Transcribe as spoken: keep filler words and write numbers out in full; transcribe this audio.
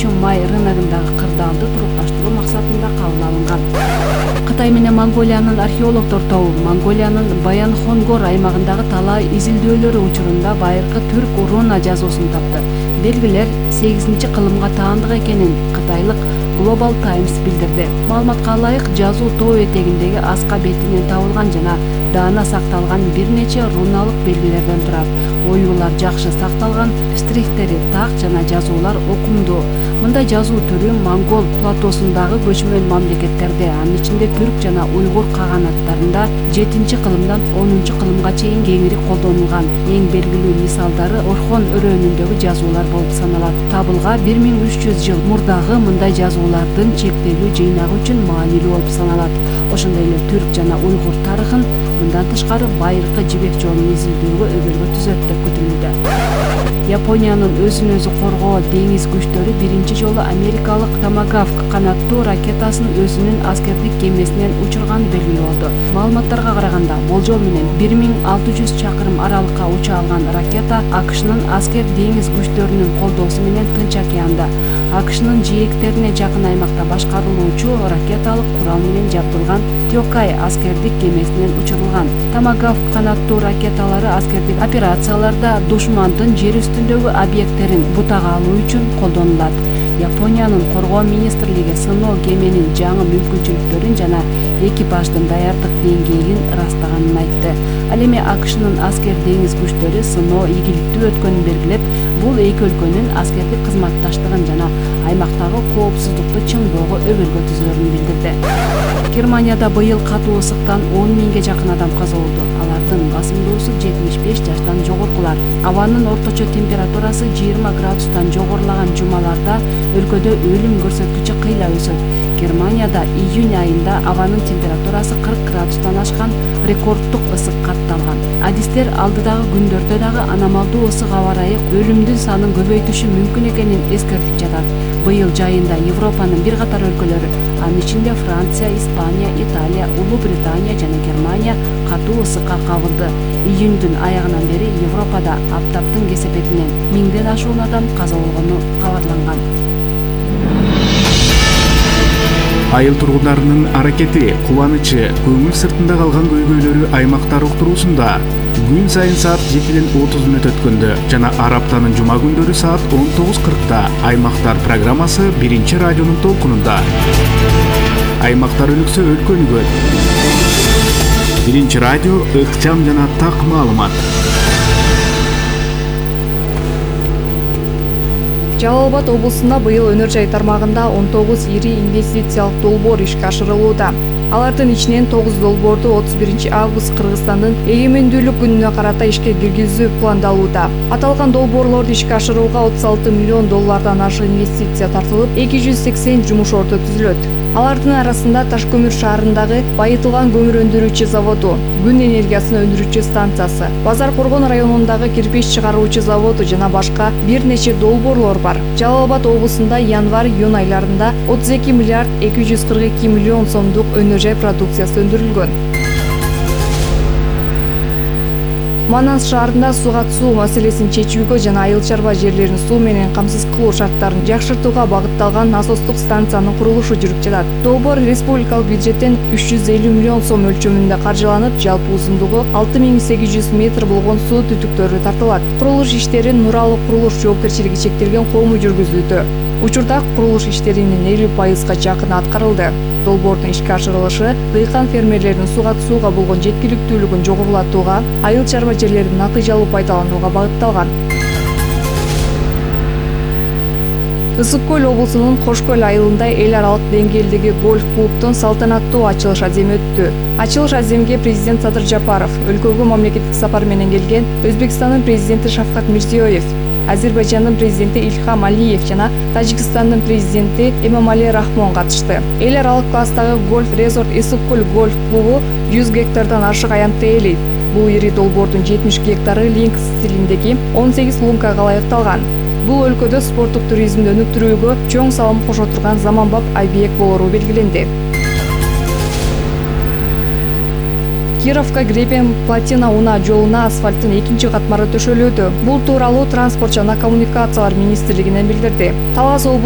үчүн май рыногундагы кырдаалды турукташтыруу максатында кабыл алынган. Кытай менен Монголиянын археологдор тобу Монголиянын Баян-Хонгор аймагындагы талаа изилдөөлөрү учурунда байыркы түрк руна жазуусун тапты. Белгилер сегизинчи кылымга таандык экенин кытайлык Global Times билдирди. Маалыматка ылайык, жазуу тоо этегиндеги аска бетинен табылган жана даана сакталган бир нече руналык белгилерден турат. Оюулар жакшы сакталган, штрихтери так жана жазуулар окумдуу. Мындай жазуу түрү Монгол платосундагы көчмөн мамлекеттерде, анын ичинде түрк жана уйгур каганаттарында жетинчи кылымдан онунчу кылымга чейин кеңири колдонулган. Эң белгилүү мисалдары Орхон өрөөнүндөгү жазуулар болуп саналат. Табылга бир миң үч жүз жыл мурдагы мындай жазуулардын чектелүү жыйнагы үчүн маанилүү болуп саналат. Ошондой эле түрк жана уйгур тарыхын мындан тышкары байыркы жибек жолун изилдөөгө өбөлгө түзөт деп күтүлүүдө. Япониянын өзүн өзү коргоо деңиз күчтөрү биринчи жолу америкалык Томагавк канаттуу ракетасын өзүнүн аскердик кемесинен учурганы белгилүү болду. Маалыматтарга караганда, болжол менен бир миң алты жүз чакырым аралыкка уча алган ракета АКШнын аскер деңиз күчтөрүнүн колдоосу менен Тынч океанда, АКШнын жээктерине жакын аймакта башкарылуучу ракеталык курал менен жабдылган Тёкай аскердик кемесинен учурулган. Томагавк канаттуу ракеталары аскердик операцияларда душмандын жер үстүндөгү объекттерин бутага алуу үчүн колдонулат. Япониянын коргоо министрлиги сыноо кеменин жаңы мүмкүнчүлүктөрүн жана экипаждын даярдык деңгээлин ырастаганын айтты. Ал эми АКШнын аскер деңиз күчтөрү сыноо ийгиликтүү өткөнүн белгилеп, бул эки өлкөнүн аскердик кызматташтыгын жана аймактагы коопсуздукту чыңдоого өбөлгө түзөрүн билдирди. Германияда быйыл катуу ысыктан он миңге жакын адам каза болду. Алардын басымдуусу жетимиш беш жаштан жогоркулар. Абанын орточо температурасы жыйырма градустан жогорулаган жумаларда өлкөдө өлүм көрсөткүчү кыйла өсөт. Германияда июнь айында абанын температурасы кырк градустан ашкан рекорддук ысык катталган. Адистер алдыдагы күндөрдө дагы аномалдуу ысык аба ырайы өлүмдүн санын көбөйтүшү мүмкүн экенин эскертип жатат. Быйыл жайында Европанын бир катар өлкөлөрү, анын ичинде Франция, Испания, Италия, Улуу Британия жана Германия катуу ысыкка кабылды. Июндүн аягынан бери Европада аптаптын кесепетинен миңден ашуун адам каза болгону кабарланган. Айыл тургундарынын аракети, кубанычы, көңүл сыртында калган көйгөйлөрү аймактар уктуруусунда күн сайын саат жетиден отуз мүнөт өткөндө жана ар аптанын жума күндөрү саат он тогуз кыркта Аймактар программасы биринчи радионун толкунунда. Аймактар өнүксө өлкө өнүгөт. Биринчи радио ыкчам жана так маалымат. Жалал Абад облусунда быйыл өнөр жай тармагында он тогуз ири инвестициялык долбоор ишке ашырылууда. Алардын ичинен тогуз долбоорду отуз биринчи август Кыргызстандын эгемендүүлүк күнүнө карата ишке киргизүү пландалууда. Аталган долбоорлорду ишке ашырууга отуз алты миллион доллардан ашык инвестиция тартылып, эки жүз сексен жумуш орто түзүлөт. Алардын арасында Ташкөмүр шаарындагы байытылган көмүр өндүрүүчү заводу, күн энергиясын өндүрүүчү станциясы, Базар Коргон районундагы кирпич чыгаруучу заводу жана башка бир нече долбоорлор бар. Жалал Абад облусунда январь-июнь айларында отуз эки миллиард эки жүз кырк эки миллион сомдук өнөр жай продукциясы өндүрүлгөн. Манас шаарында суга суу маселесин чечүүгө жана айыл чарба жерлерин суу менен камсыз кылуу шарттарын жакшыртууга багытталган насостук станциянын курулушу жүрүп жатат. Долбоор республикалык бюджеттен үч жүз элүү миллион сом өлчөмүндө каржыланып, жалпы узундугу алты миң сегиз жүз метр болгон суу түтүктөрү тартылат. Курулуш иштерин Нуралык курулуш жоопкерчилиги чектелген кому жүргүзүүдө. Учурда курулуш иштеринин элүү пайызга жакыны аткарылды. Долбоордун ишке ашырылышы дыйкан фермерлердин суга сууга болгон жеткиликтүүлүгүн жогорулатууга, айыл чарба жерлерин натыйжалуу пайдаланууга багытталган. Ысык көл облусунун Кош көл айылында эл аралык деңгээлдеги гольф клубдун салтанаттуу ачылыш аземи өттү. Ачылыш аземге президент Садыр Жапаров, өлкөгө мамлекеттик сапар менен келген Өзбекстандын президенти Шавкат Мирзиёев, Азербайжандын президенти Ильхам Алиев жана Тажикстандын президенти Эмомали Рахмон катышты. Эл аралык класстагы гольф резорт Ысык көл гольф клубу жүз гектардан ашык аянтты ээлейт. Бул ири долбоордун жетимиш гектары линк стилиндеги он сегиз лункага ылайыкталган. Бул өлкөдө спорттук туризмди өнүктүрүүгө чоң салым кошо турган заманбап объект болору белгиленди. Кировка Гребен Платина Уна жолуна асфальттын экинчи катмары төшөлүүдө. Бул тууралуу транспорт жана коммуникациялар министрлигинен билдирди. Талас облусунун